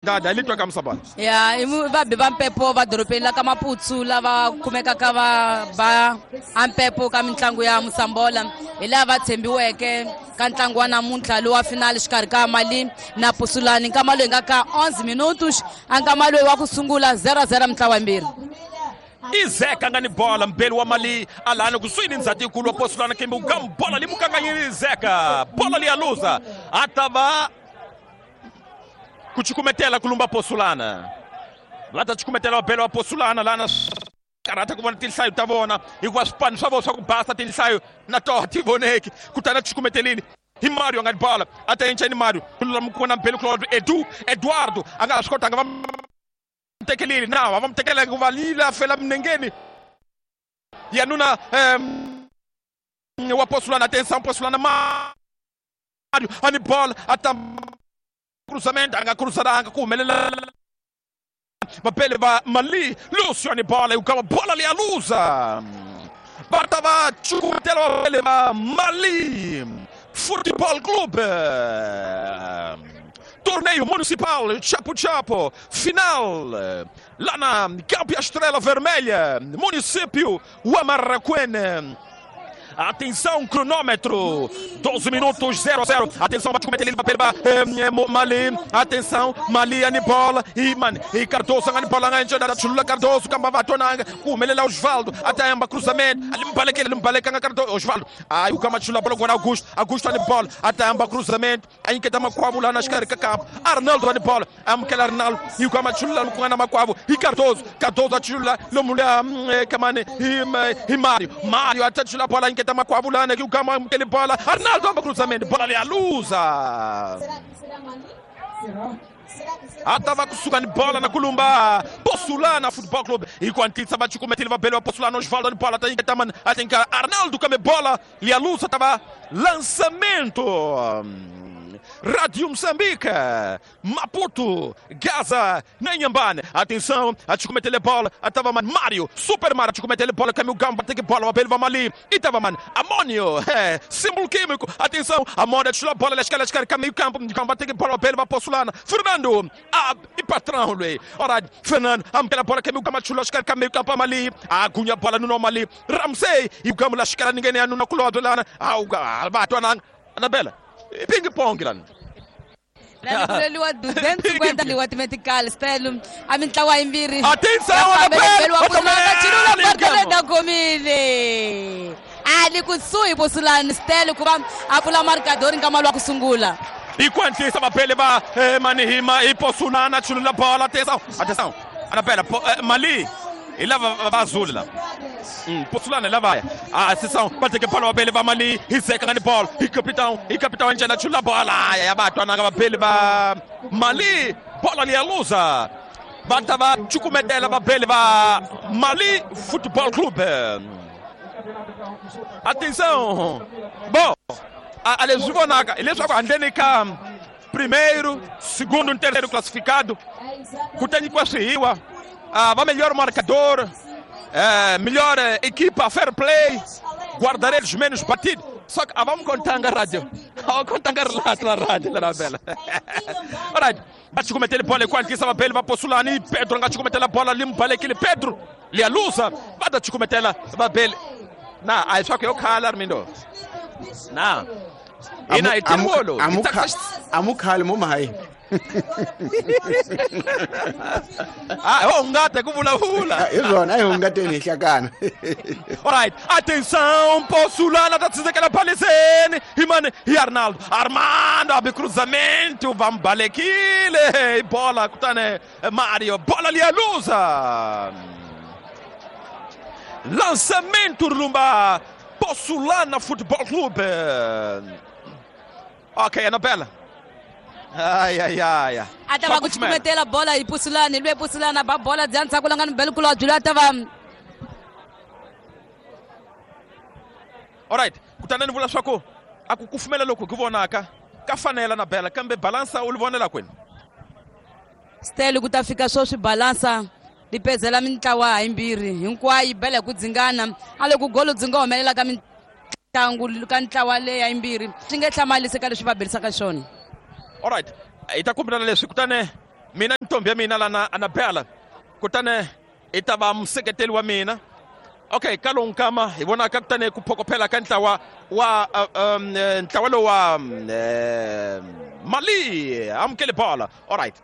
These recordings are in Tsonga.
Dada hi litwa ka Musabala. Ya, i vabi va mpepo va dorobeni la ka Maputsu lava kumekaka va ba a mpepo ka mitlangu ya Musambola, hi lava tshembiweke ka ntlangu wa namuntlha lowa finale xikarhi ka Mali na Pusulani. Nkama loyi nga ka 11 minutos, a nkama loyi wa ku sungula 0-0 mitlawa yimbirhi. Izeka nga ni bola mbeli wa Mali alana kusuhi ni ndzhati yikulu wa Posulana kembe ukam bola limukanganyeli Izeka bola liyaluza atava kuchikumetela kulumba Posulana va ta chikumetela vabeli wa Posulana lana karhata ku vona tinhlayo ta vona hikuva swipano swa vona swa ku basa tinhlayo na toho ti voneki kutani a chikumetelini hi Mario a nga ni bola a ta enceni Mario kulula ku vona mbeli kulobye Edu Eduardo a nga ha swi kotanga va tekelile na va mu tekela hikuva lila fela minengeni ya nuna wa Posulana. Atenção Posulana, Mario a ni bola a ta cruzamento a nga cruzaranga ku humelela vapele va Mali. Lucio ni bola yukava bola liyaluza va ta va cukumetela vapele va Mali Football Club. Torneio Municipal Chapo Chapo, final lá na Campo Estrela Vermelha, município Huamarraquene. Atenção, cronômetro, 12 minutos, 0-0. Atenção, bate com ele, Mali. Atenção, Mali, Anibola, e man, e Cardoso, Anibola, Chulula Cardoso, Camba Vatonanga, Kumelela Osvaldo, até Amba cruzamento, ali Mbaleque, Mbaleque, Cardoso, Osvaldo. Aí o Cama Chula, bola agora Augusto, Augusto Anibola, até Amba cruzamento, aí que tá Macuavo lá nas caricas, Arnaldo Anibola, Amkel Arnaldo, e o Cama Chula, com Macuavo, e Cardoso, Cardoso Chula, Lomulha, Kamane, e Mário, Mário até Chula, bola, em que tá Macuavo lá, que o Cama, aquele bola, Arnaldo amba cruzamento, bola ali a luza. Atava kusuka ni bola na kulumba Posulana Football Club enquanto va chukumetile va bele Posulana Osvaldo ni bola ta taman atenka Arnaldo kame bola lialusa tava lançamento. Rádio Moçambique, Maputo, Gaza, Nanhambane. Atenção, a chukumetele bola, atava man Mário, Super Mario, chukumetele bola, caminho Gamba, tem que bola, o bele va Mali, e tava man Amônio, símbolo químico. Atenção, Amônio, chula bola, lesca, caminho campo, Gamba, tem que bola, o bele va Posulana. Fernando, e patrão, lui. Ora, Fernando, amkela bola, caminho Gamba, chula, escala, caminho campo, Mali, agunha bola no Mali, Ramsey, e o Gamba, lascala, ninguém é no culo, lá, ah, Anabela. Ping pong lana. Leliwa 250 liwa medical style a mintlawa yimbirhi. Atenção Anabela, chilula bartoleta komile. Ali kusuhi Posulana style ku va a pfula marcador nkama lwa ku sungula. Enquanto vapele va Manihima e Posulana chilula bola, atenção. Atenção. Anabela, Mali e lá va azul lá. Posulana lá vai. A sessão bate que bola bele va Mali, e seca na bola, e capitão enjana chula bola. Ya ba twana va bele va Mali, bola ali a luza. Bata va chukumetela va bele va Mali Football Club. Atenção. Bom, a leswi vonaka hileswaku handleni ka primeiro, segundo e terceiro classificado, ku ta nyikiwa swihiwa. Va melhor marcador, melhor equipa, fair play, guarda-redes menos batido. Só que vamos contar na rádio. Vamos contar relato na rádio, na bela. Alright, bate cometer bola enquanto que Sababel vai Posulani, Pedro nga cometer a bola limpa aquele Pedro, lialusa, bate cometer Babel. Na, aí só que eu calo, Armindo. Na. Ina itimolo. Amukhali mumai. Ah, ungate ku vulavula. Hi swona, a hi hungateni hi hlakana. Alright, atenção, Posulana tá tsindzekela paliseni. Himane, hi Arnaldo. Armando abe cruzamento, vambalekile. Bola kutane Mario, bola lialuza. Lançamento rumba Posulana Football Club. Ok, Anabela. Ai, ai, ai. A ta va ku cukumetela bola hi Posulana, lwe Posulana ba bola bya ndzhaku la nga ni bele kula byula ta va. Alright, kutani ni vula swa ku a ku kufumela loko ku vonaka ka fanela na bela kambe balansa u li vonela kwini? Stele ku ta fika swo swi balansa li pezela mintlawa yimbirhi hinkwayo bela ku dzingana a loko golo dzi nga humelela ka mitlangu ka ntlawa leya yimbirhi swi nge hlamalisi ka leswi va belisaka xona. Alright, hi ta kombela leswi kutani Mina ntombi ya mina lana Anabela kutani i ta va museketeli wa mina. Okay, ka lowu nkama hi vonaka kutani ku phokophela ka ntlawa wa ntlawa lowu wa Mali amukele bola. Alright,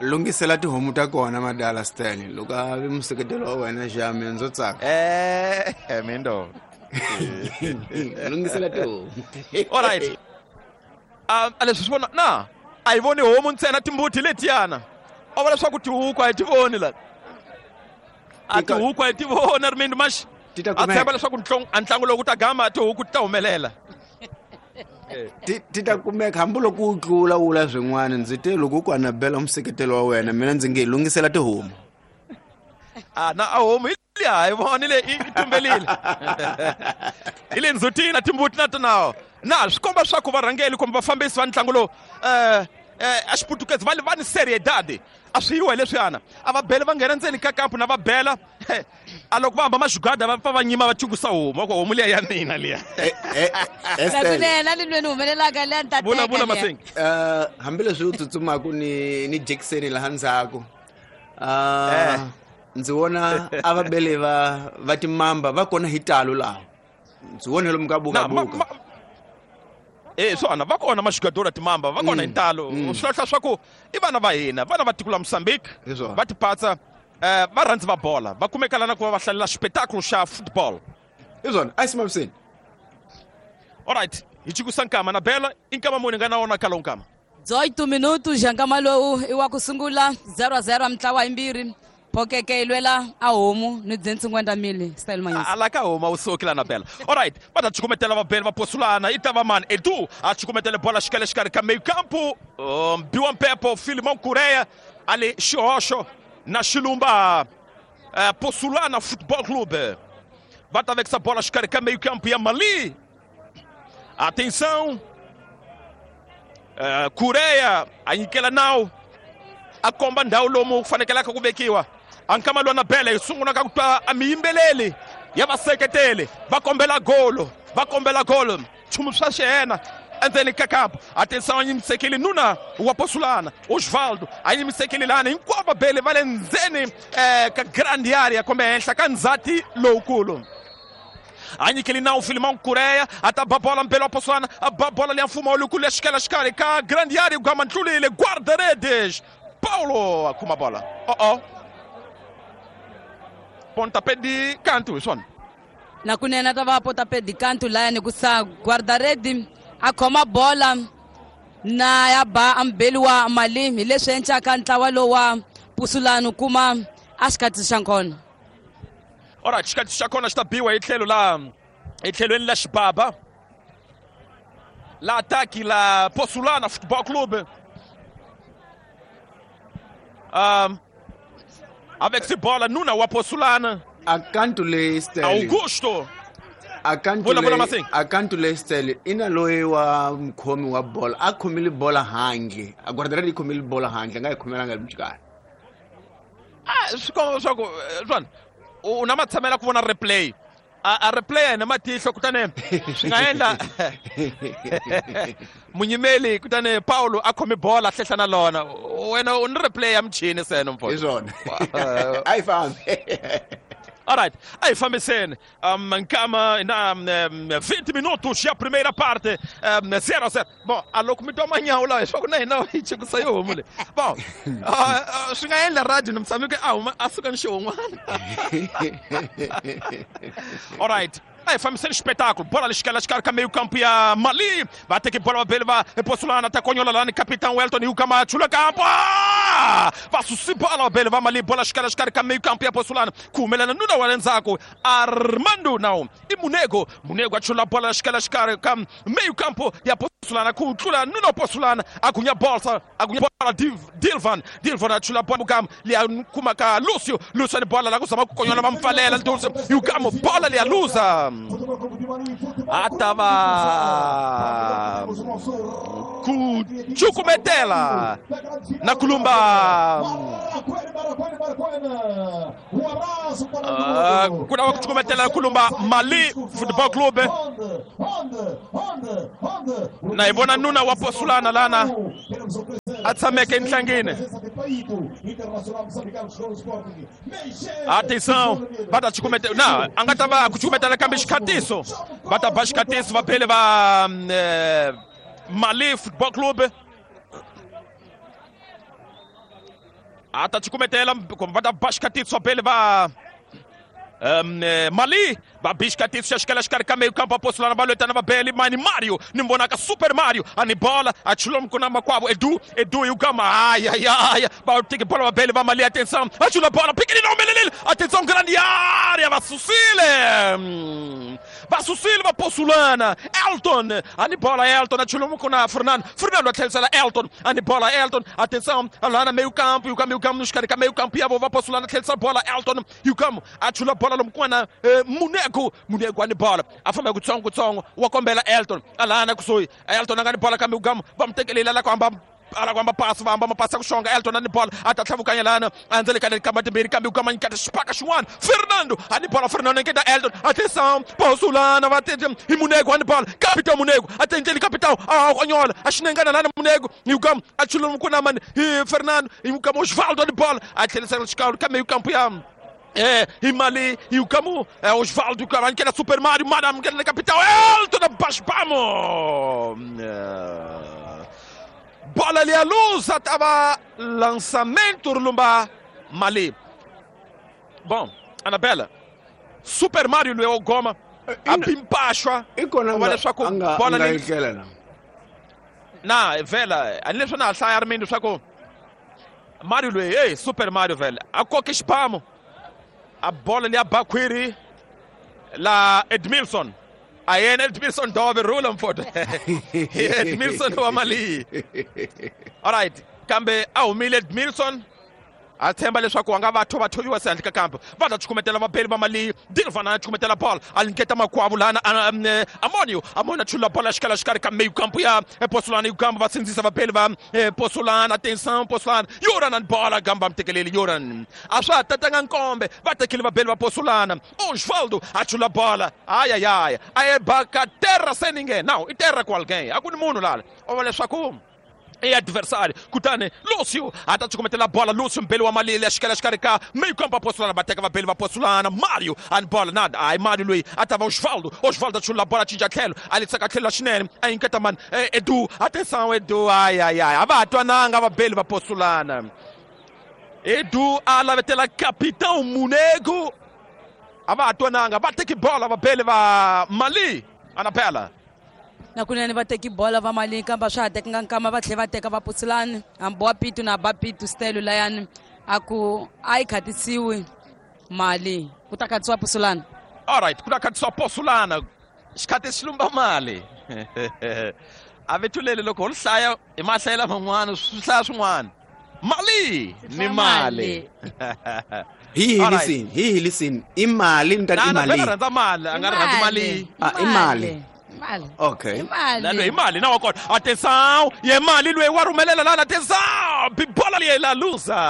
lunghisela tihomu ta kona madala Stanley loko a vi museketelo wa wena xami ndzo tsaka. Mindo lunghisela tihomu. Alright, a leswi swi vona na a hi voni homu ntsena, timbuti letiyana a vula leswaku tihuku a hi ti voni la, a tihuku a hi ti voni Rimindo Maxi. Ti ta A tshemba kumeka. leswaku a ntlangu lowu ku ta gama tihuku ti ta humelela. Ti ta kumeka hambiloko u tlula wula swin'wana. Ndzi te loko ku Anabela museketelo wa wena, mina ndzi nge lunghisela tihomu. A na a homu hi liya hi vonile i tumbelile hi le ndzhutini na timbuti na tona na swi komba swa ku varhangeli kumbe vafambisi va ntlangu lowu a xiputukezi va ni seriedade a swi yiwa hi leswiyana a va bele va nghena ndzeni ka kampu na va bela a loko va hamba maxugada va pfa va nyima va chukusa homu va ku homu liya ya mina liya. Nakunene ni lweni humelelaka liya ni ta Vula teka vula liya. Masingi. Hambileswi u tsutsumaku ni Jackson laha ndzhaku, ndzi vona a va bele va timamba va kona hi talo laha ndzi vone lomu ka Na, ma, bukabuka. Swona va kona maxugadora timamba va kona hi ntalo swi hlahla swa ku i vana va hina vana va tiko la Mozambique. Hi swona. Va tipatsa va rhandzi va bola va kumeka lana ku va va hlalela xipetakulu xa football. Hi swona, a yi simamiseni. Alright, hi chikusa nkama na bela i nkama muni nga na wona ka lowu nkama? 18 minutos ya nkama lowu i wa ku sungula 0-0 mintlawa yimbirhi phokeke yi lwela a homu ni 250 000 style manyisi. Ala ka homa u suki la na bela. Alright, va ta chukumetela vabeli va posulana i ta va mani Edu a chukumetele bola xikele xikarhi ka meio campo biwa mpepo Filimão Kureya ali xihoxo na xilumba Posulana Football Club va ta vekisa bola xikarhi ka meio campo ya Mali. Atenção, Kureya a nyikela nawu a komba ndhawu lomu ku fanekelaka ku vekiwa a nkama lowa na bele hi sungula ka ku twa a miyimbeleli ya vaseketeli va kombela golo va kombela golo nchumu swa xihena endzeni ka kampo. Atenção, a yimisekile nuna wa Posulana Osvaldo a yimisekile lani hinkwavo vabeli va le ndzeni ka grand area kumbe henhla ka ndzhati lowukulu a nyikeli nawu Filimão Kureya a ta ba bola mbelo wa Posulana a ba bola liya mfumo lukulu ya xikela xikarhi ka grand area gama ntlulile guarda-redes Paulo a khoma bola oh pontapé de canto hi swona. Nakunene ta va pontapé de canto laya ku sa guarda-rede a khoma bola na ya ba ambeli wa Mali hi leswi encaka ntlawa lowu wa Pusulani kuma a xikhatsi xa nkona. Alright, xikhatsi xa kona xi ta biwa hi tlhelo la hi tlhelweni la xibaba la ataki la Posulana Football Club avec bola nuna wa Posulana. Akantu leyi Stanley. Augusto. Akantu Vula, vula, leyi Masing. Akantu leyi Stanley ina loyi wa mukhomi wa bola a khomile bola handle a guardaredi yi khomile bola handle a nga yi khomelanga le Ah, swi komba leswaku swona u na matshamela ku vona replay a replay yena matihlo kutani swi nga endla munyimeli kutani Paulo a khome bola a hlehla na lona wena u ni replay ya michini seno hi mfo. Swona, a yi fambi. Alright, a hi fambiseni nkama na 20 minutos ya primeira parte 0-0. Bon, a loko mi twa manyawu lawa leswaku na hina hi chikusa yo homu leyi. Bon, swi nga endla radio ni mutshami a huma a suka ni xihon'wana. Alright, a hi fambiseni xipetakulo bola lexikala xikarhi ka meio campo ya Mali va teke bola vabeli va Posulana ta konyola lani capitão Welton hiukama chula campo. Ah! Va susi bola vabeli va Mali bola xikala xikarhi ka meio campo ya Posulana ku humelela nuna wa le ndzhaku Armando now i Munego Munego a chula bola xikala xikarhi ka meio campo ya Posulana ku tlula nuna wa Posulana a gunya bolsa a gunya bola Dilvan Dilvan a chula bola mukam liya kuma ka Lucio Lucio ni bola la ku zama ku konyola va mpfalela Lucio hiukamo bola liya luza. tava ku cukumetela na kulumba kuna wa kucukumetela na kulumba Mali Football Club na ivona nuna wa Posulana lana a tshameke entlangini. Atenção, va ta cukumetela na a nga ta va ku cukumetela kambe xikhatiso va ta ba xikhatiso va phele va Mali Football Club a ta cukumetela kumbe va ta ba xikhatiso va phele va Mali va bi xikhatiso xa xikela xikarhi ka meio campo a Posulana va lwetana va beli mani Mario ni vonaka Super Mario ani bola a chula mkuna makwavo Edu Edu yugama ai ai ai va teke bola va beli va Mali atenção a chula bola pequenino melelele atenção grande área va susile va Posulana Elton ani bola Elton a chula mkuna Fernando Fernando a tlhelisela Elton ani bola Elton atenção lana meio campo yuka meio campo no xikarhi ka meio campo ya vo va Posulana tlhelisela bola Elton yugama a chula bola lomkwana Munego Munego ani bola a famba kutsongo kutsongo wa kombela Elton alana kusuhi Elton a nga ni bola kambe ugamu va mu tekelela la ku hamba ala kwamba pasi va hamba mapasi ya ku xonga Elton ani bola a ta tlhavukanya lana a ndzele ka kamba timbirhi kambe ugama nyiketa xipaka xin'wana Fernando ani bola Fernando nyiketa Elton atenção Posulana va tete hi Munego ani bola Capitão Munego a tendleli Capitão a onyola a xinengana lana Munego hi ugama a chula mukuna mani hi Fernando hi ugama Osvaldo ani bola a tlhelisela xikalo ka meio campo ya e Mali, e o Camu, é Osvaldo, que era Super Mario, Madame, que era na capital, Elton, abaixo, vamos! Bola ali, a luz, estava lançamento, Lumba, Mali. Bom, Anabela, Super Mario, Leo Goma, a Pimpacha, olha só com bola ali. Na, vela, ali só na saia, Armindo, só com Mario, ei, Super Mario, velho, a coque spamo. A bola ali a Baquiri la Edmilson. Aí Edmilson dove rula mfoto. Edmilson wa Mali. Alright, kambe a humile Edmilson a tshemba leswaku a nga va thovathoviwa se handle ka kampo va ta cukumetela vabeli va Mali Dilvana a cukumetela bola a linketa makwavo lana Amonio Amonio a chula bola xikala xikarhi ka meio campo ya Posulana Yugamba va sindzisa vabeli va Posulana atenção Posulana Yoran ani bola gamba mtekeleli Yoran a swa ha tatanga nkombe va tekile vabeli va Posulana Osvaldo a chula bola ai ai ai a baka terra sem ninguém não i terra com alguém a ku ni munhu lala o va leswaku e adversário, kutani Lúcio a ta cukumetela bola, Lúcio mbeli wa Mali xikela xikarhi ka meio campo a Posulana va teka vabeli va Posulana Mario ani bola nada ai Mario loyi a ta va Osvaldo Osvaldo a chula bola cinca tlhelo a litsaka tlhelo la xinene a yinketa mani Edu atenção Edu ai ai ai a va ha twananga vabeli va Posulana Edu a lavetela Capitão Munego a va ha twananga va teki bola vabeli va Mali Anapela na kunene va teki bola va Mali kambe swa ha tekanga nkama va tlhela va teka va Posulana hambi wa Pitu na ba Pitu stelo layani a ku a yi khatisiwi Mali ku ta khatisiwa Posulana. Alright, ku ta khatisiwa Posulana xikhati xi lumba mali a vethulele loko ho li hlaya hi mahlayela man'wana swi hlaya swin'wana Mali ni mali hi hi listen i mali ni ta i mali rhandza mali a nga rhandzi mali i mali Mali. Okay. Mali. Imali, mali na wakona. Atenção, e é mali lwe warumelela lana atenção. Bola ali la luza.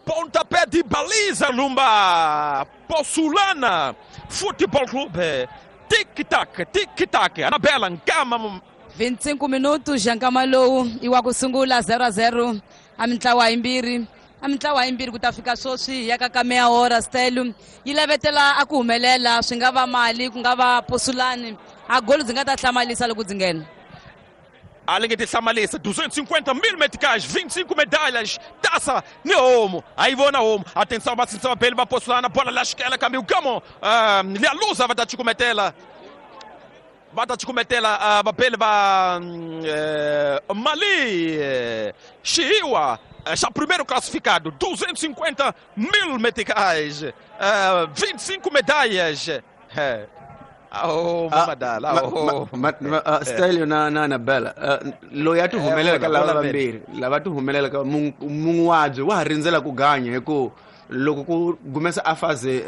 Pontapé de baliza Lumba. Posulana Futebol Clube. Tic tac, tic tac. Anabela Nkama 25 minutos Nkama lowu i wa ku sungula 0-0 a mintlawa yimbirhi. A mintlawa yimbirhi ku ta fika sweswi ya ka ka meya hora stelu yi lavetela a ku humelela swi nga va Mali ku nga va Posulani a golo byi nga ta hlamalisa loko byi nghena. Além de hlamalisa 250 mil meticais, 25 medalhas, taça ni homo. Aí vou na homo. Atenção, atenção, bele va Posulana, bola la xikela kambe ukamo. Lia luza va ta cukumetela. Va ta cukumetela vabeli va Mali. Xiwa já primeiro classificado, 250 mil meticais, 25 medalhas. Oh, mamadala. Stelio na na Anabela loyi a ti humelelaka lava vambirhi lava ti humelelaka mun'waji wa ha rindzela ku ganya hi ku Loko ku gumesa a fase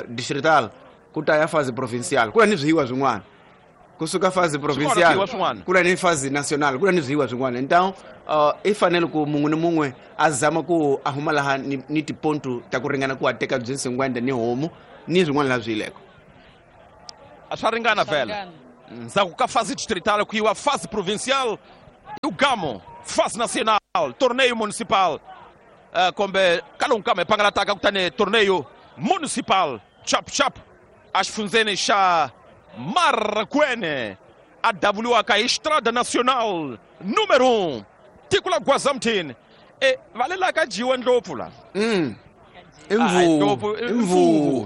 distrital, ku ta ya fase provincial, ku na ni swihiwa swin'wana. Kusuka fase provincial, ku na ni fase national, ku na ni swihiwa swin'wana. Então i fanele ku mun'we ni mun'we a zama ku a huma laha ni tipontu ta ku ringana ku a teka byi 50 ni homu ni swin'wana laha swi yileko. A swa ringana vhele. Ndzhaku ka fase distrital ku yiwa fase provincial, Ugamo, fase nacional, torneio municipal. Kumbe ka lowu nkama hi pangalataka kutani torneio municipal chap chap a xifundzeni xa Marracuene a davuliwaka hi Estrada Nacional número 1 tiko la Gwazamthini. Va le la ka dyiwa ndlopfu la. I mvubu.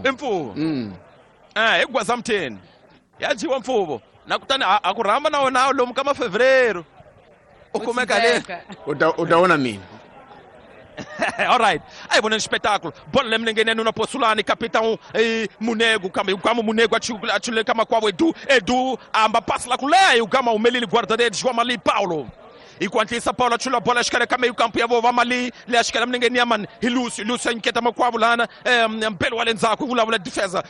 I mvubu. Hi Gwazamthini ya dyiwa mfuvo na kutani a ku rhamba na wona lomu ka mafevereiro u kumeka le u ta vona mina. All right. Aí vona espetáculo. Bola lemlengene nuna Posulani, capitão Munego, kama o Munego achule kama kwavo Edu amba passa lá com o Gama o Melili guarda-redes João Mali Paulo. E quanto isso Paulo achula bola escara kama meio campo ya vova Mali, le ashkara mlengene ya man Lúcio, Lúcio inquieta makwavo lana, Mbelo alenzako vula vula defesa.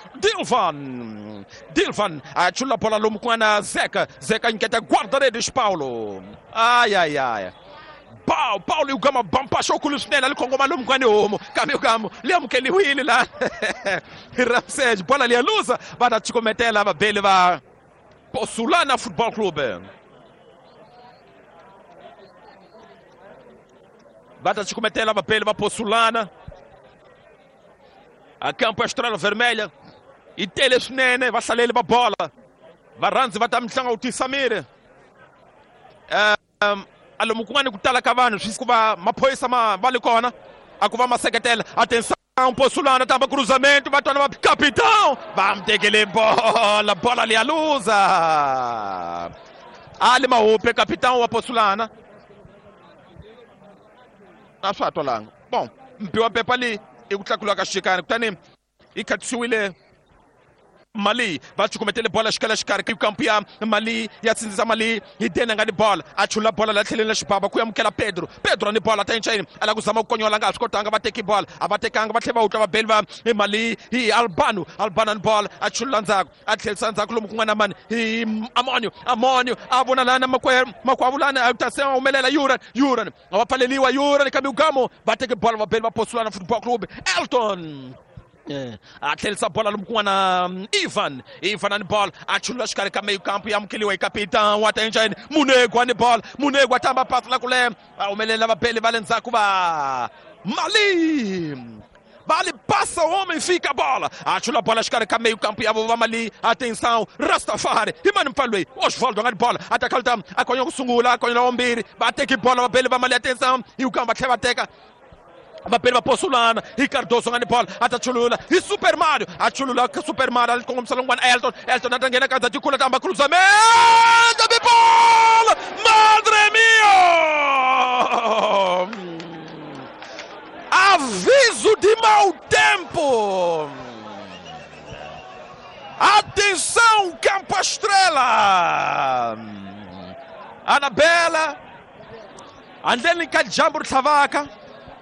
Dilvan achula bola lomu kwa Zeca, Zeca inquieta guarda-redes Paulo. Ai ai ai. Paulo e o Gama bampachou com o Lucinela, ali com o maluco com o Caminho Gamo, lembro que ele Willi lá. Ramsés, bola ali a lusa, vai dar te cometer lá, vai bele vai. Posulana Futebol Clube. Vai dar te cometer lá, vai bele vai Posulana. A campo a Estrela Vermelha. E Telesnene, vai sair ele pra bola. Vai Ranzi, vai dar mtlanga o Tissamir. Alomu kun'wana ku tala ka vanhu swi ku va maphorisa ma va le kona a ku va ma seketela. Atenção Posulana tamba cruzamento va twana va capitão va mi tekele bola, bola liya luza a le mahupe capitão wa Posulana a swa ha twalanga. Bon mpi wa pepa leyi i ku tlakuliwa ka xikani kutani yi khatisiwile Mali va cukumetele bola xikala xikarhi kampu ya Mali ya tsindzisa Mali hi dena nga ni bola a chula bola la tlheleni la xibaba ku amukela Pedro ni bola ta enchayini a la ku zama ku konyola nga swi kotanga va teki bola a va tekanga va tlhela va wutla va beli va Mali hi Albano ni bola a chula ndzhaku a tlhelisa ndzhaku lomu kun'wana mani hi Amonio a vona lana makwavo lana a ta se humelela Yuran a va pfaleliwa Yuran kambe Ugamo va teki bola va beli va Posulana Football Club Elton. A tlhelisa bola lomu kun'wana Ivan ani bola a chulula xikarhi ka meio campo ya amukeliwa hi capitão wa ta enchayini Munego ani bola Munego a tamba pasi la kule va humelela vabeli va le ndzhaku va Mali vale passa o homem, fica a bola. Achula a bola xikarhi ka meio campo ya va Mali. Atenção, Rastafari. E mano mpfalo Osvaldo nga ni bola. Atakalta a konya ku sungula, a konya la mbirhi. Va teki bola vabeli va Mali, atenção. E o campo tlhela va teka. Vapeli va Posulana, Ricardoso nga ni bola, atachulula, hi Super Mario, achulula Super Mario, ali kongomisa longwana Elton ata nghena ka tikula tamba cruzamento, bola! Madre mia! Aviso de mau tempo! Atenção, Campo Estrela! Anabela, andleni ka dyambu ri tlhavaka.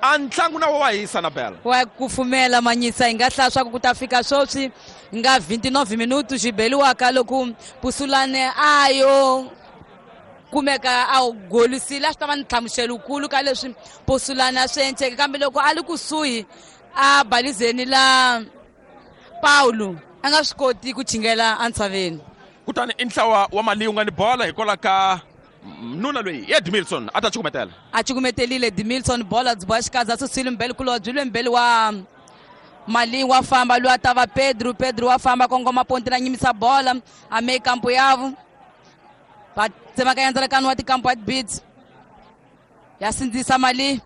A ntlangu na wa hisa Anabela. Wa kufumela manyisa hi nga hlaya swa ku ta fika sweswi nga 29 minutos xibeliwaka loko Posulane ayo kumeka a golisile a swi ta va ni nhlamuselo wukulu ka leswi Posulane a swi endleke kambe loko a li kusuhi a balizeni la Paulo a nga swi koti ku chingela entshaveni. Kutani i ntlawa wa Mali wu nga ni bola hikwalaho ka nuna loyi Edmilson a ta cukumetela. A cukumetelile Edmilson bola byi boxa xikaza susile mbeli kulo byi lwe mbeli wa Mali wa famba loyi a ta va Pedro wa famba kongoma ponti na nyimisa bola a me kampo yavo va tsemakanya ndzalakano wa tikampo wa tibits ya sindzisa Mali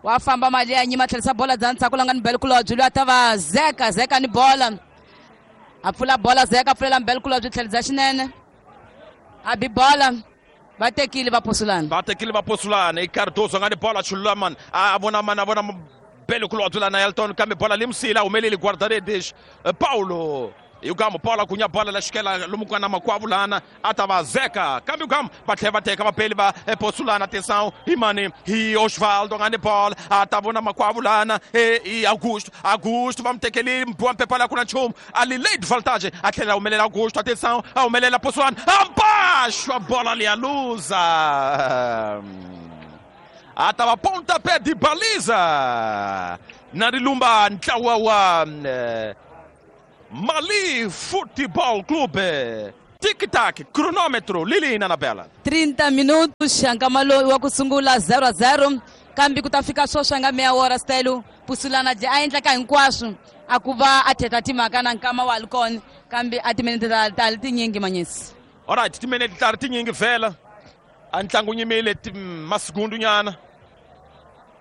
wa famba Mali ya nyima tlherisa bola bya ndzhaku la nga ni mbeli kulo byi lwe a ta va Zeka ni bola a pfula bola Zeka a pfulela mbeli kulo byi tlherisa xinene. Abi bola va tekile va Posulana. Va tekile va Posulana. I Cardoso nga ni bola chulula man a vona man a vona Belo kulobye lana Elton kambe bola limsila humeleli guarda-redes Paulo. Yugamu bola kunya bola la xikela lomu ku nga na makwavo lana a ta va Zeka kambe Yugamu va tlhela va teka vapeli va Posulana. Atenção hi mani hi Osvaldo nga ni bola a ta vona makwavo lana i Augusto. Augusto va mu tekeli mbiwa mpepa la ku na nchumu a li late voltage a tlhela a humelela Augusto. Atenção a humelela Posulana ambaxo a bola ali a luza a ta va pontapé de baliza na rilumba ntlawa wa Mali Futebol Clube. Tic-tac, cronômetro, Lilina na bela. 30 minutos, nkama lowu wa ku sungula 0-0 kambe ku ta fika sweswi nga meya wora stelo Pusulana a endla ka hinkwaswo a ku va a thetha timhaka na nkama wa li kona kambe a timinete ta li tinyingi manyisi. Alright, timinete ta ri tinyingi vhela a ntlangu nyimile masigundu nyana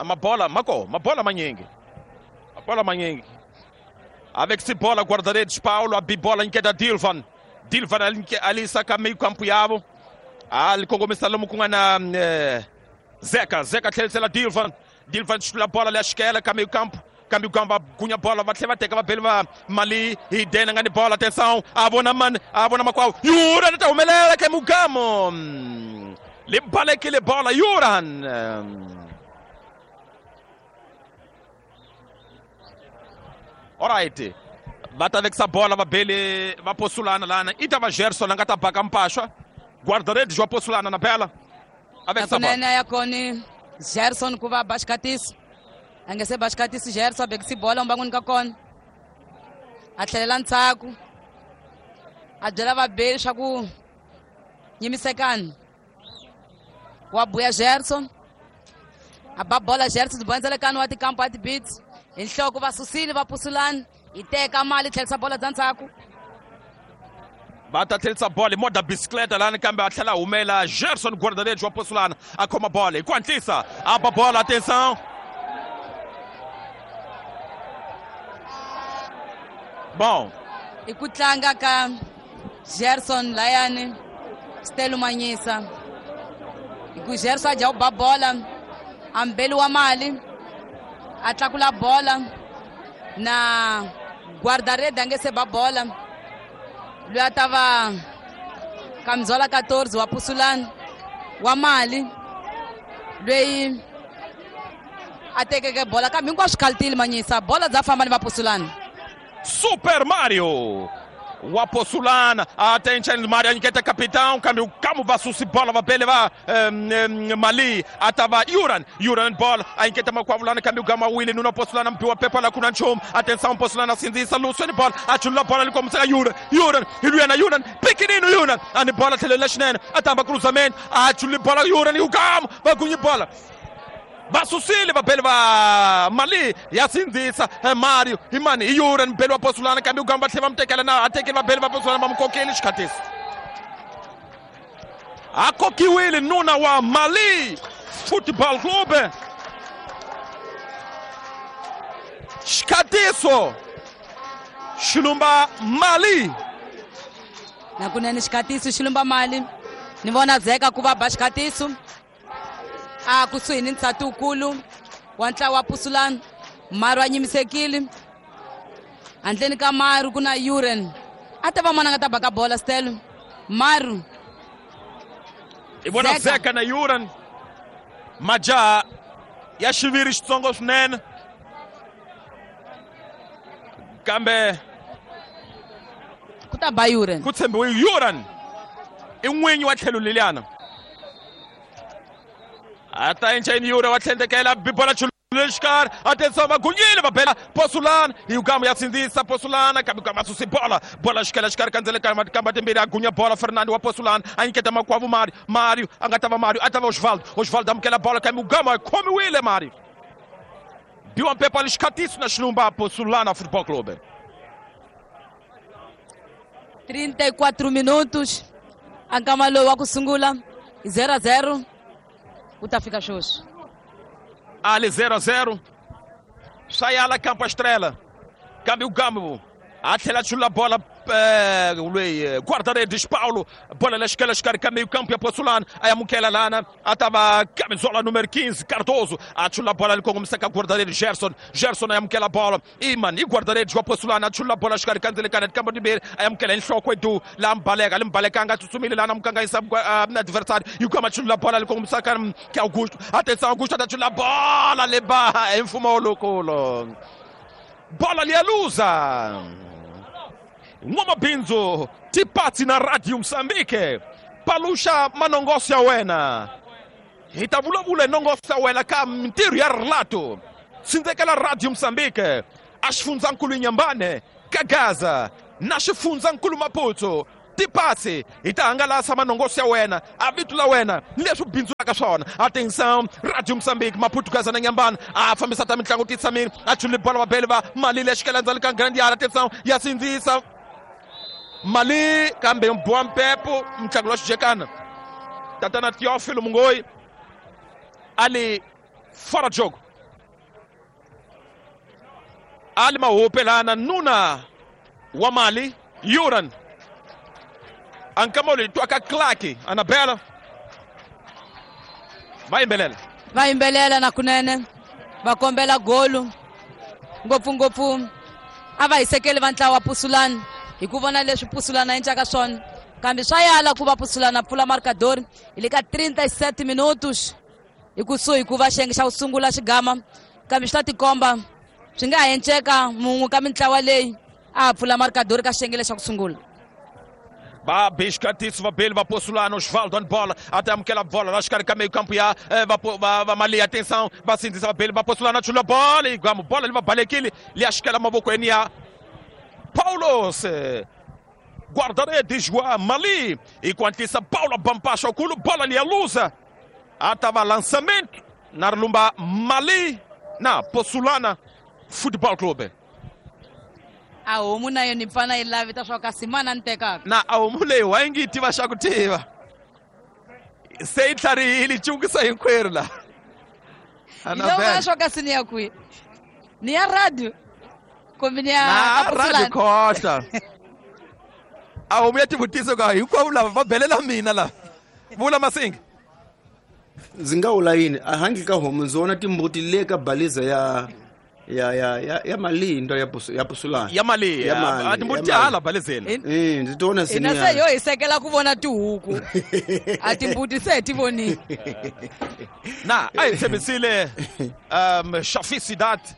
mabola mako mabola manyingi mabola manyingi avec se bola guarda-redes Paulo a bibola inketa Dilvan. Dilvan alisaka meio campo yavo alikongomisa lomu ku nga na Zeka. Zeka tlherisela Dilvan. Dilvan xitula bola leya xikela ka meio campo kambe kamba gunya bola va tlhela va teka vabeli va Mali hi dena nga ni bola. Atenção a vona mani a vona makwavo Yuran ta humelela ka Mugamo le balekile bola Yuran. Alright, va ta vekisa bola vabeli va Posulana lana i ta va Gerson a nga ta baka mpaxwa guarda-redes wa Posulana na bela a vekisa bola kunene ya koni Gerson ku va ba xikatisi a nge se ba xikatisi Gerson a bekisi bola mbangwini ka kona a tlhelela ndzhaku a byela vabeli swa ku nyimisekani wa buya Gerson a ba bola Gerson byi bondzelekani wa tikampo a tibits hi nhloko va susile va Pusulana yi teka mali tlherisa bola bya ndzhaku va ta tlherisa bola hi moda bicicleta lani kambe a tlhela a humela Gerson guarda-redes wa Posulana a khoma bola hi ku hatlisa a ba bola. Atenção bon i ku tlanga ka Gerson layani Stelo Manyisa hi ku Gerson a dya ku ba bola a mbeli wa mali a tlakula bola na guarda-redes a nge se ba bola loyi a ta va Kamzola 14 wa Pusulana wa mali loyi a tekeke bola kambe hinkwaswo khalitile Manyisa bola bya famba ni va Pusulana. Super Mario wa Posulana attention Mario a nyiketa capitão kambe kamu va susi bola va bele va Mali a ta va Yuran. Yuran bola a nyiketa makwavulana kambe ugama wile nuna Posulana mpiwa pepa la kuna nchumu. Atenção Posulana sindzisa Lusweni bola a chulula bola likomiseka Yuran. Yuran hi luyana Yuran pikinino Yuran ani bola tlhelo la xinene a tamba cruzamento a chululi bola Yuran ugamu va gunyi bola va susile vabeli va Mali ya sindzisa Mario imani i Yuran mbeli wa Posulana kambe ugamba tlhela va mu tekela na a tekeli vabeli va Posulana va mu kokeli xikhatisi a kokiwile nuna wa Mali Football Club xikhatiso xilumba Mali na kunene xikhatiso xilumba Mali ni vona Zeka ku va ba xikhatiso a kusuhi ni nsati wukulu wa ntlawa wa Pusulana Maru a nyimisekile handleni ka Maru ku na Yuren a ta va mana nga ta baka bola Stelo Maru i vona Zeka na Yuren majaha ya xiviri xitsongo swinene kambe ku ta ba Yuren ku tshembiwe Yuren i n'winyi wa tlhelo leliyana ata encheni Yura wa tlhendekela bibola xikarhi atenção va gunyile va bela Posulana hi ugamu ya sindzisa Posulana kambe ugamu a susi bola bola xikela xikarhi kandzele kamba timbirhi a gunya bola Fernando wa Posulana a nyiketa makwavo Mario. Mario a nga ta va Mario a ta va Osvaldo. Osvaldo amukela bola kambe ugamu a khomiwile Mario biwa mpepa lixikatiso na xilumba Posulana Futebol Clube. 34 minutos a nkama lowu wa ku sungula 0-0 ku ta fika sweswi ali 0-0 swa yala Campo Estrela kambe ugamu a tlhela a chulula bola Lweyi guarda-redes Paulo, bola la xikela xikarhi ka meio campo ya Pozzolana, a amukela lana, a ta va camisola número 15, Cardoso, a chula bola ali kongomisa ka guarda-redes Gerson, Gerson a amukela bola, Iman, i guarda-redes wa Pozzolana, a chula bola xikarhi ka ndzilekana kambo timbirhi, a amukela enhloko edu, la mbaleka, limbalekanga tsutsumile lana mukanganyisa adversário, e o chula bola ali kongomisa ka Augusto, atenção Augusto, a chula bola leba em loucolo. Bola lialuza. N'wamabindzu tipatsi na Radio Mozambique paluxa manongoso ya wena hi ta vulavula hi nongoso ya wena ka mintirho ya rilato tsindzekela Radio Mozambique a xifundzankulu Inhambane ka Gaza na xifundzankulu Maputo tipatsi hi ta hangalasa manongoso ya wena a vito la wena ni leswi bindzulaka swona. Atenção Radio Mozambique Maputo Gaza na Inhambane a fambisa ta mitlangu titshamile a chuli bola vabeli va mali lexikela ndzali ka grande yard. Atenção ya sindzisa mali kambe mboa mpepo mtlangi wa xijekana tatana Teófilo Mungoi ali fora de jogo ali mahupe lana nuna wa mali Yuran ankamoli twaka klaki Anabela va yimbelela na kunene va kombela golu ngopfungopfu a va hisekeli va ntlawa wa Pusulani hi ku vona leswi Pusulana encaka swona kambe swa yala ku va Pusulana pfula marcador hi le ka 37 minutos hi kusuhi ku va xiyenge xa ku sungula xigama kambe swi ta tikomba swi nga ha enceka mun'we ka mintlawa leyi a pfula marcador ka xiyenge lexa ku sungula. Va biscatiso va bele va Pozzolana Osvaldo on bola até amukela bola la xikarhi ka meio campo ya va Mali. Atenção va sindzisa va bele va Pozzolana chula bola e gamo bola li va balekile li xikela mavokweni ya Paulos guarda-redes wa Mali e quantisa Paulo bampasha okulu bola li aluza atava lançamento na lumba Mali na Pozzolana Futebol Clube. A homu na yona pfana yi lavita swa kasi mana ni tekaka na a homu leyi wa yi ngi tiva xa ku tiva se yi tlharihile cukisa hinkwerhu la Anabela swa kasi ni ya kwihi ni ya radio kumbe ni ya radio khotla a homu ya tivutiso ka hinkwavo lava va belela mina la vula Masinga ndzi nga vula yini a handle ka homu ndzi vona timbuti le ka baliza ya ya mali into ya Pusulana ya mali a timbuti hala balezeni ndzi tona hina se yo hi sekela ku vona tihuku a timbuti se ti vonile na a hi tshembisile Shafi Sidat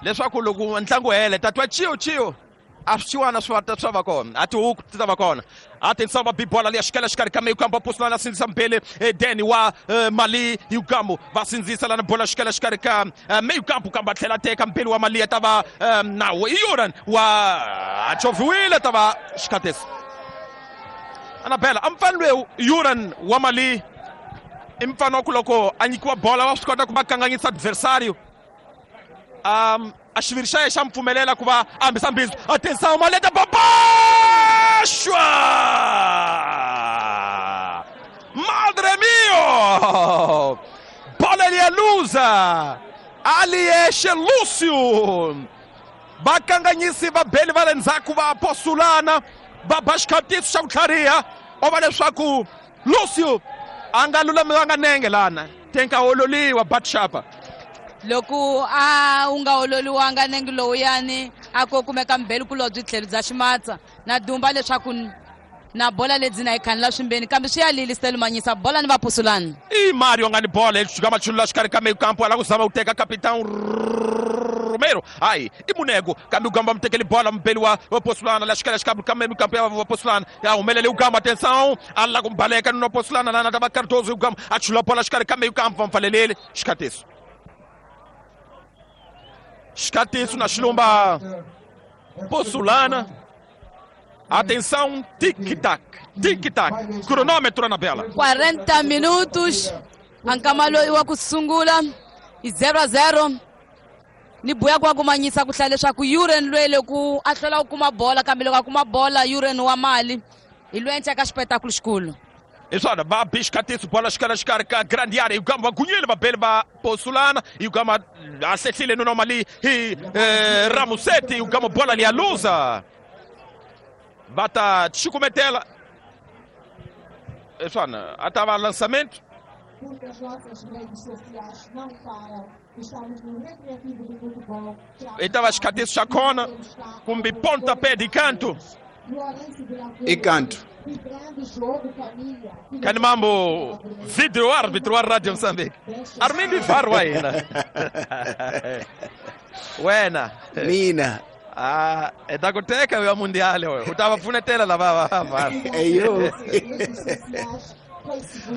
leswaku loko ntlangu hele tatwa chiyo chiyo a swiwana swi swa va kona a tihuku ti ta va kona. Atenção va bibola ali xikela xikarhi ka meio campo Pozzolana sindzisa mbele Deni wa Mali Yugamo va sindzisa lana bola xikela xikarhi ka meio campo kamba tlhela teka mbele wa Mali ta va na Yuran wa choviwile ta va xikatesi Anabela amfani lowu Yuran wa Mali i mfana wa ku loko a nyikiwa bola wa swi kota ku va kanganyisa adversário a xiviri xa yena xa mpfumelela ku va a hambisa mbindzu. Atenção maleta babaxwa madre mio bola lialuza ali yexe Lúcio vakanganyisi va beli va le ndzhaku va Pozzolana va ba xikhatiso xa ku tlhariha o va leswaku Lúcio a nga lulamiwanga nenge lana tenka ololiwa batshapa loko a wu nga ololiwanga nenge lowuyani a ko kumeka mbeli kulobye tlhelo bya ximatsa na dumba leswaku na bola lebyi na yi khanela swimbeni kambe swi ya lili Stelumanyisa bola ni va Pusulana i Mario nga ni bola xika machulula xikarhi ka meio campo ala ku zama ku teka capitão Romero ai i Munego kambe ugamba mutekeli bola mbeli wa Pozzolana la xikela xikarhi ka meio campo ya Pozzolana ya humelele ugamba atenção ala ku baleka no Pozzolana lana ta va Cardoso ugamba a chula bola xikarhi ka meio campo va mpfaleleli xikatiso xikatiso na xilumba Pozzolana. Atenção, tic-tac, tic-tac. Cronômetro, Anabela. 40 minutos. Ankama loyi wa ku sungula i 0-0. Ni buya kwa kumanyisa ku hlaya leswaku Yuren loyi loko a hlwela ku kuma bola kambe loko a kuma bola Yuren wa Mali hi loyi encaka xipetakulu xikulu. Hi swona va bi xikatiso bola xikarhi xikarhi ka grande area Ugamba va gunyile va beli va Pozzolana Ugamba a hlehlile nuna wa Mali hi Ramuseti Ugamba bola lialuza. Va ta chukumetela. Swana, a ta va lançamento. Porque as nossas redes sociais não param. Estamos no Recreativo do Futebol. E tava xikatiso xa kona kumbe pontapé de canto. E canto. Kani mambo video árbitro wa Radio Mozambique. Armindo Ivarro wena. Wena. Mina. Ah, e ta ku teka ya mundial we. U ta va pfunetela lava va. Eyo.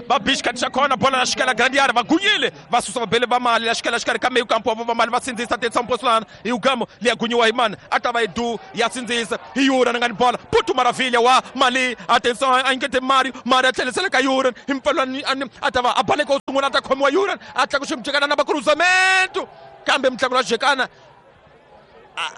Va bixikati xa kona bola na xikela grande área va gunyile va susa vabele va mali la xikela xikarhi ka meio campo va mali va sindzisa atenção Poçolana e o Gamo li agunyiwa hi mani a ta va Edu ya sindzisa hi Yuran nga ni bola Puto Maravilha wa Mali atenção a ingete Mário Mário a tlhelisela ka Yuran hi mpfalani a ta va a baleka u sungula a ta khomiwa Yuran a tlaku ximjekana na va cruzamento kambe mutlangi wa jekana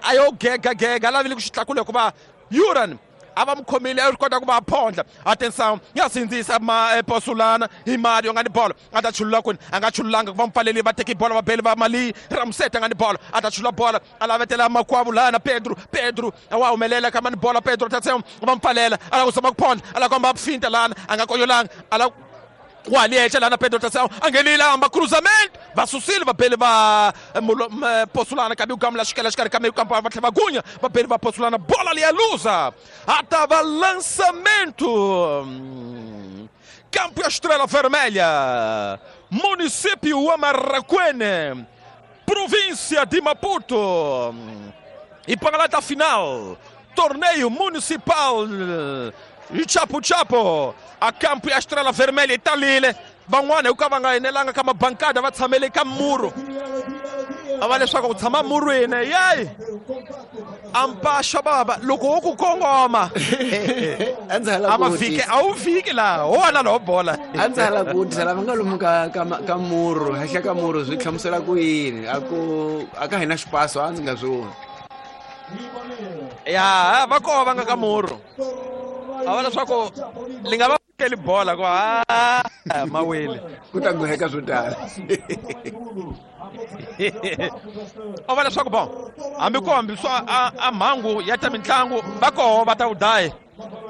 a yo gega gega a lavile ku xi tlakula hikuva Yuran a va mu khomile a ri kota ku va phondla. Atenção ya sindzisa Poçolana hi Mario nga ni bolo a ta chulula kwini a nga chululanga ku va mupfaleli va teki bolo va beli va Mali Ramsete nga ni bolo a ta chulula bola a lavetela makwavo lana Pedro Pedro wa humelela ka mani bola Pedro atenção va mpfalela a lava ku zama ku phondla a lava ku hamba finta lana a nga konyolanga a lava waliecha lana Pedro atenção angenile hamba cruzamento va susile va beli va Poçolana kabi ugamu la xikela xikarhi ka meio campo va tlhela va gunya va beli va Poçolana bola ali a lusa a tava lançamento Campo e a Estrela Vermelha, município Amarraquene, província de Maputo. E para lá final, torneio municipal e Chapo Chapo, a Campo e a Estrela Vermelha italile van'wana hi ku ka va nga enelanga ka mabankada va tshamele ka muru a va leswaku ku tshama murwini yeyi ampaxa baba loko wo ku kongoma a va fiki a wu fiki laha ho wana lowo bola a ndzi hala ku vutisa lava nga lomu ka muru henhla ka muru swi hlamusela ku yini a ku a ka hina xipaso a ndzi nga swi voni ya va koho va nga ka muru a va leswaku li nga va fikeli bola ku a mawele ku ta goheka swo tala o va leswaku bon hambi ku hambi swa a mhangu ya ta mitlangu va koho va ta wu daya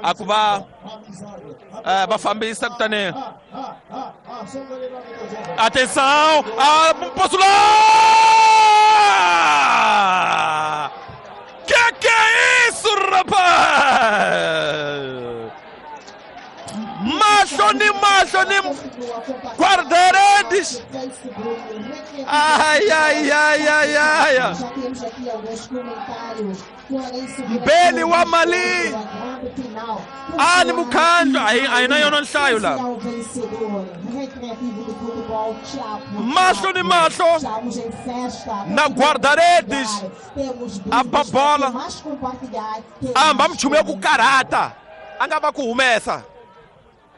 a ku va va fambisa kutani atenção a Poçolana que é isso, rapaz? Macho ni guarda-redes. Ai, ai, ai, ai, ai. Mbele wa Mali. Ali Mukhanjo ai na yona nhlayo la. Macho ni macho na guarda-redes. A bola. Amba mchume ku karata. A nga va ku humesa.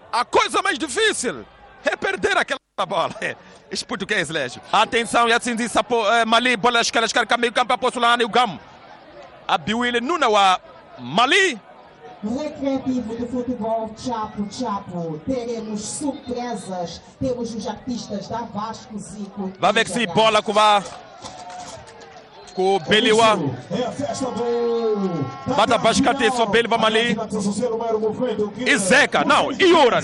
A coisa mais difícil é perder aquela bola. Esse português, Légio. Atenção, Yatsinzisa Mali, bola escala, escala, meio campo, a Poçolana e o Gamo. A Biwile Nuna wa Mali. Recreativo do futebol Chapo Chapo. Teremos surpresas. Temos os artistas da Vasco Zico. Vai ver que se bola com a com Beliwa. Bata bascate só Beliwa Mali. E Zeca, não, e Yuran.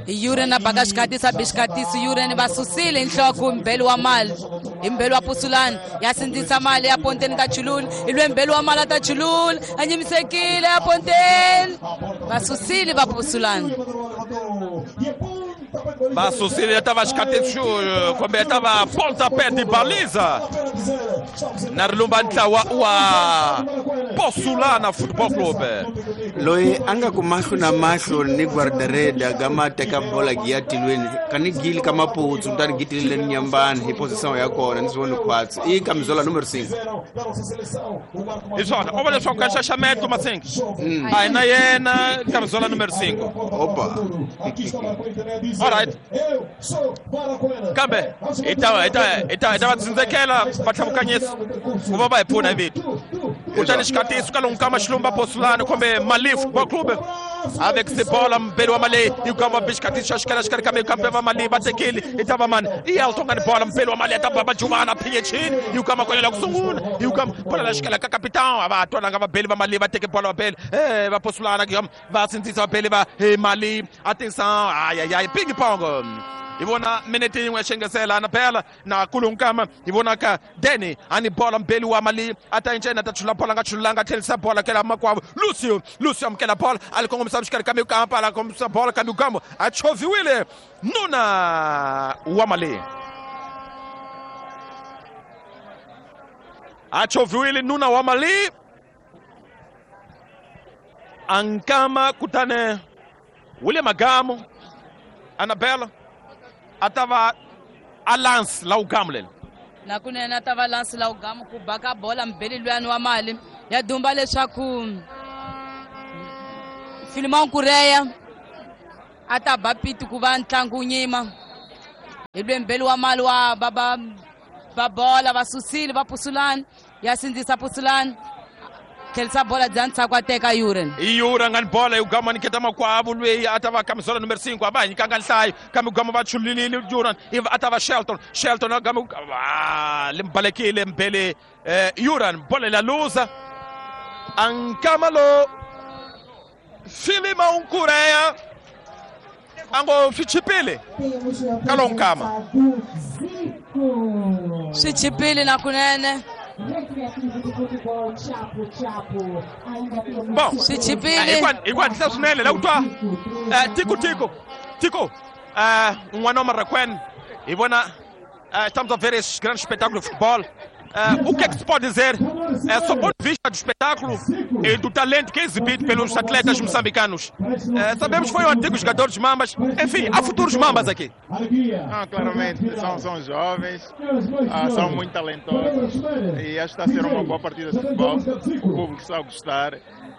Yuran na bagashkatisa bishkatisa Yuran basusile inhloko Mbeliwa Mali. Mbeliwa Poçolana yasindzisa mali ya ponteni ka Chulul. Ilwe Mbeliwa Mali ta Chulul. Anyimisekile ya ponteni. Basusile ba Poçolana. Basusile tava xikatisa kumbe tava pontapé de baliza. Na rilumba ntlawa wa Poçolana Football Club. Loyi a nga ku mahlo na mahlo ni guarda-rede gama teka bola giya tilweni kani gili ka maputsu kutani gitilile ni nyambani hi position ya kona ni swi voni khwatsi i kamizola numero 5 hi swona o va leswaku ka xaxameto Masingi a hi na yena kamizola numero 5 opa. Alright. Kambe hi ta va tsindzekela va tlhavukanyisa ku va va hi pfuna hi vito. Kutani xikatiso ka lomu ka Maxilumba Poçolana kumbe Mali Football Club. Avec bola mbele wa Mali yugamba bishkatisha shikala shikala kame kampe wa Mali batekeli itaba man Elton ngani bola mbele wa Mali atababa Jumana pinye chini yugamba kwenye la kusunguna yugamba bola la shikala ka capitão abatwana ngaba bele ba Mali bateke bola bele baposulana va sindzisa vabeli va Mali. Atenção, ai ai ai, ping pong. Ivona minute yin'we xengesela na phela na kulunkama ivona ka Danny ani bola mbeli wa Mali ata incena ta chula bola nga chulanga tlhelisa bola kela makwavo Lucio Lucio amukela bola ali kongomisa xikarhi ka mikampa ala kongomisa bola ka mikambo a choviwile nuna wa Mali a choviwile nuna wa Mali ankama kutane William Agamo Anabela atava a lance la ugamu leli na kunene atava lance la ugamu ku baka bola mbeli luyani wa Mali ya dumba leswaku Filimão Kureya ataba piti ku va ntlangu nyima hi lwe mbeli wa Mali wa baba va bola va susile va pusulani ya sindzisa pusulani tlhelisa bola dya ntshaku a teka Yuren. Yuren ngani bola yugama niketa makwavo lweyi atava kamisola numero 5 aba nyikanga nhlayo kambe ugama va chulilile Yuren atava Shelton Shelton agama limbalekile mbele Yuren bola la luza ankamalo Filimão Kureya ango swichipile kalonkama swichipile na kunene. Bom, igual swinene la ku twa Tico Tico Tico n'wana wa Marraquene hi vona estamos a ver esse grande espetáculo de futebol. O que é que se pode dizer sob o ponto de vista do espetáculo e do talento que é exibido pelos atletas moçambicanos? Sabemos que foi um antigo jogador dos Mambas, enfim, há futuros Mambas aqui. Ah, claramente, são jovens, são muito talentosos e acho que está a ser uma boa partida de futebol. O público está a gostar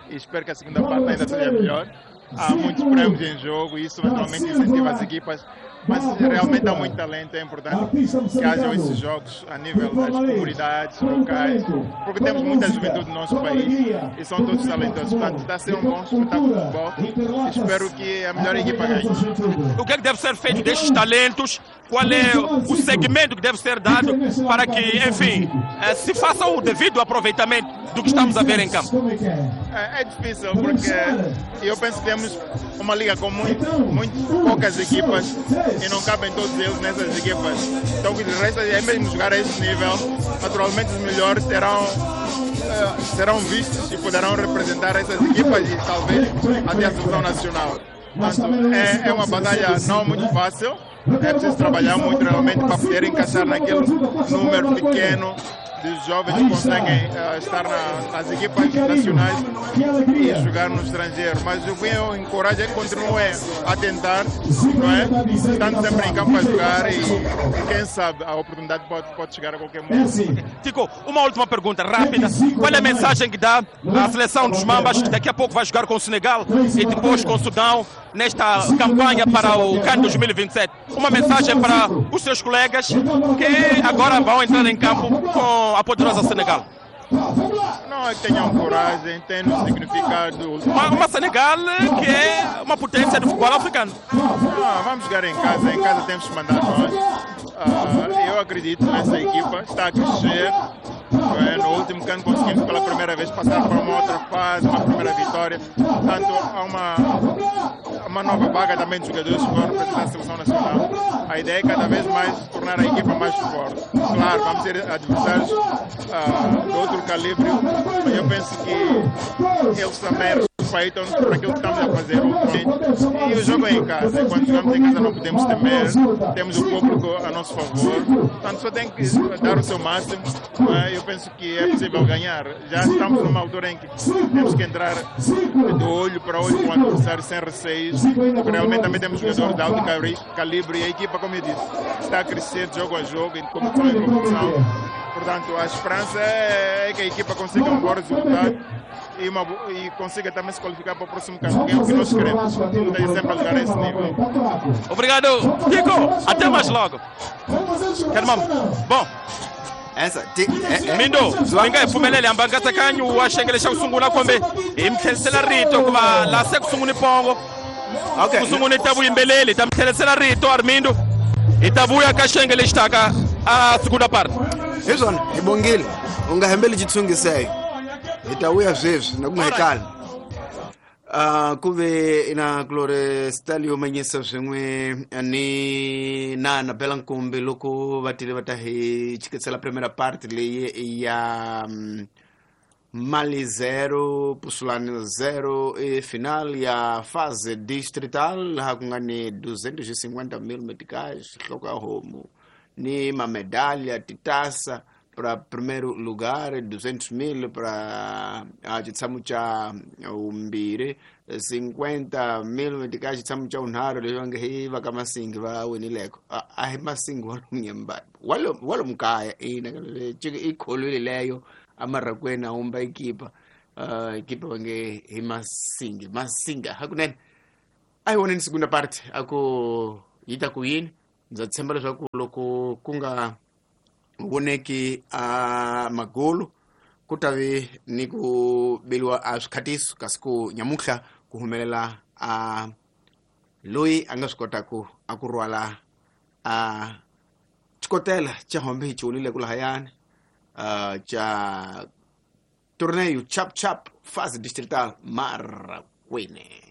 e espero que a segunda parte ainda seja melhor. Há muitos prêmios em jogo e isso naturalmente incentiva as equipas, mas realmente há muito talento, é importante que hajam esses jogos a nível das comunidades locais, porque temos muita juventude no nosso país e são todos talentosos, portanto está a ser um bom espetáculo de futebol e espero que a melhor equipa ganhe. O que é que deve ser feito destes talentos? Qual é o segmento que deve ser dado para que, enfim, se faça o devido aproveitamento do que estamos a ver em campo? É difícil, porque eu penso que temos uma liga com muito poucas equipas e não cabem todos eles nessas equipas. Então o que lhes resta é mesmo jogar a este nível. Naturalmente os melhores serão vistos e poderão representar essas equipas e talvez até a seleção nacional. Portanto, é uma batalha não muito fácil. É preciso trabalhar muito realmente para poder encaixar naquele número pequeno de jovens que conseguem estar nas equipas nacionais e jogar no estrangeiro. Mas o que eu encorajo é que continuem a tentar, não é? Estando sempre em campo a jogar e quem sabe a oportunidade pode chegar a qualquer momento. Tico, uma última pergunta rápida. Qual é a mensagem que dá à seleção dos Mambas, que daqui a pouco vai jogar com o Senegal e depois com o Sudão nesta campanha para o CAN 2027? Uma mensagem para os seus colegas que agora vão entrar em campo com a poderosa Senegal. Não é que tenham coragem, tenham significado. Uma Senegal que é uma potência do futebol africano. Vamos jogar em casa temos que mandar nós. Eu acredito nessa equipa, está a crescer. No último ano conseguimos pela primeira vez passar para uma outra fase, uma primeira vitória. Portanto, há uma nova vaga também de jogadores que vão representar a seleção nacional. A ideia é cada vez mais tornar a equipa mais forte. Claro, vamos ter adversários de outro calibre, mas eu penso que eles também respeitam-nos por aquilo que estamos a fazer ultimamente. E o jogo é em casa. Quando jogamos em casa não podemos temer, temos o público a nosso favor. Portanto, só tem que dar o seu máximo. Eu penso que é possível ganhar. Já estamos numa altura em que temos que entrar de olho para olho com o adversário, sem receios, porque realmente também temos jogadores de alto calibre e a equipa, como eu disse, está a crescer de jogo a jogo, em competição em competição. Portanto, a esperança é que a equipa consiga um bom resultado e consiga também se qualificar para o próximo campo, que é o que nós queremos. Esteja sempre a jogar a esse nível. Obrigado, Tico. Até mais logo. Bom, Essa ti Mindo mi nga hi pfumeleli hamba nkatsakanyo wa xiyenge xa ku sungula kumbe hi mi tlherisela rito ku va laha se ku sunguni pongo. Okay. Ku sunguni ta vuyimbeleri ta mi tlherisela rito Armindo, hi ta vuya ka xiyenge lexi taka a segunda parte. Hi swona, hi bongile, u nga hembeli xitshungiseyo, hi ta vuya sweswi na ku nga hi kali. Ku ve na Glore Stalio Manyisa swin'we ni na Bela Nkumbi loko va tile va ta hi chikisela primera part leyi ya Mali 0 Pusulani 0, i final ya fase distrital laha ku nga ni 250 mil meticais, nhloko ya homu ni mamedalha, titasa para primeiro lugar, 200 mil para xitshamo xa vumbirhi, 50 mil meticais xitshamo xa vunharhu, leswi va nge hi va ka Masingi va winileko. A hi Masingi wa lomu wa lomu kaya, ina i kholwile leyo amarakweni a humba ikipa, ikipa va nge hi Masingi Masinga hakunene. A hi voneni segunda parte a ku yi ta ku yini. Ndza tshemba leswaku loko ku nga voneki a magolo ku ta ve ni ku beliwa a swikhatiso, kasi ku nyamuhla ku humelela a loyi a nga swi kotaku a ku rhwala a xikotela xa hombe hi chiwulile ku lahayani cha torneio Chap Chap fase distrital Marracuene.